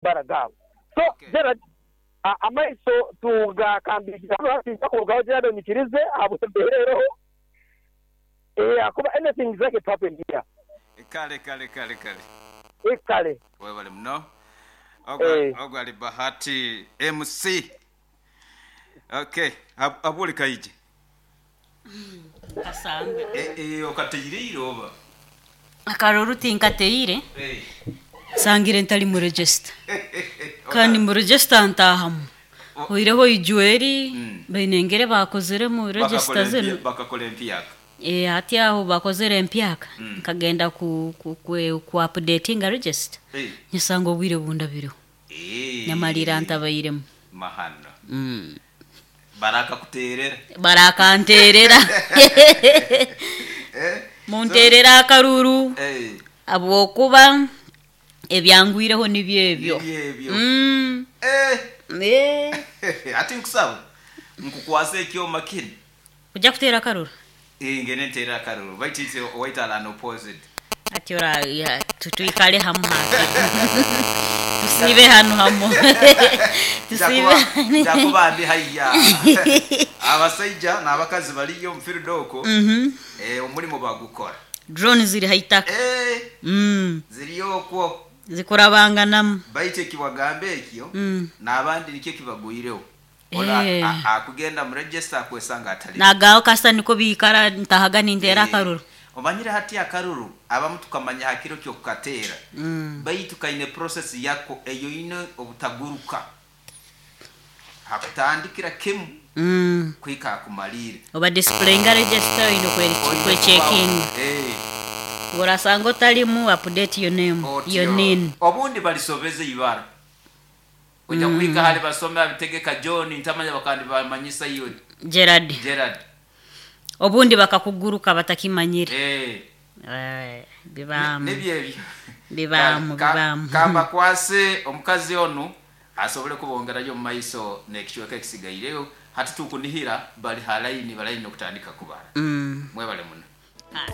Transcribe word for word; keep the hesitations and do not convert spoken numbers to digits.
amabara gaabo. So Okay. Gerald, a- amaiso tugakambikira kurugaho. Gerald, onyikirize ahabw'embeera eroho. Eh, akuba anything is like to happen here. Kale, kale, kale, kale. Ekale. Webale muno. Eh. Ogwo ali Bahati M C. Okay, ab- abuli kaije. Kasanga. Eh, eh, okateire oba? Akaruru tinkateire. Eh. Sangire ntali mu register, kandi mu register ntahamu oireho ijweri. Mm. Bainengere bakozere mu register zinu. Bakakola empyaka. E, hati aho bakozere empyaka. Mm. Nkagenda ku, ku, ku, ku updatinga register, Eh. nyasanga obwire bundabireho. Eh. Nyamalira ntabairemu. Mahano. mm. Barakakuterera. Barakanterera. Eh. Munterera akaruru Eh. abwokuba ebyangwireho nibyo ebyo. Nibyo ebyo. Mm. Eh. Eh. Ati nkusaba nkukwasa ekyoma kinu. Ujja kuteera akaruru? Eh, ngene nteera akaruru, baitu ise owaitala unopposed. Ati ora ya, tu- tuikale hamu hati tusibe hanu hamu tusibe. Njakuba ndi haiya, abasaija n'abakazi baliyo omu okwo. Mhm. Eh, omulimu bagukora. Drone ziri haitaka. Eh, mm. ziriyo okwo. Zikurabanganamu. Baitu ekiwagamba ekyo, Mm. n'abandi nikyo kibagwireho. Ona Eh. a- akugenda mu register akwesanga atali. Nagaho kasa niko biikara ntahaga ninteera Eh, akaruru. Omanyire hati akaruru abamu tukamanya hakiro kyokukateera, Mm. baitu kaine process yako eyo ine obutaguruka hakutandikira kimu Mm. kwika akumalire. Oba displayinga register oyine Oine kwecheckinga. kuba- Eh, Urasanga otalimu, update your name. Otyo. Your name. Obundi balisobeze ibara ojja kuhika hali basome abitegeka John ntamanya bakandi bamanyisa iyo. Gerard. Gerard. Obundi bakakuguruka batakimanyire. Eh, Eh, bibaamu. Nibyo ebyo. Bibaamu. Ka- Bibaamu. Kambakwase omukazi onu asobole kubongerayo mu maiso n'ekicweka ekisigaireyo. Hati tukunihira bali halaini balaini okutandika kubara. Mm. Mwebale muno. Ah.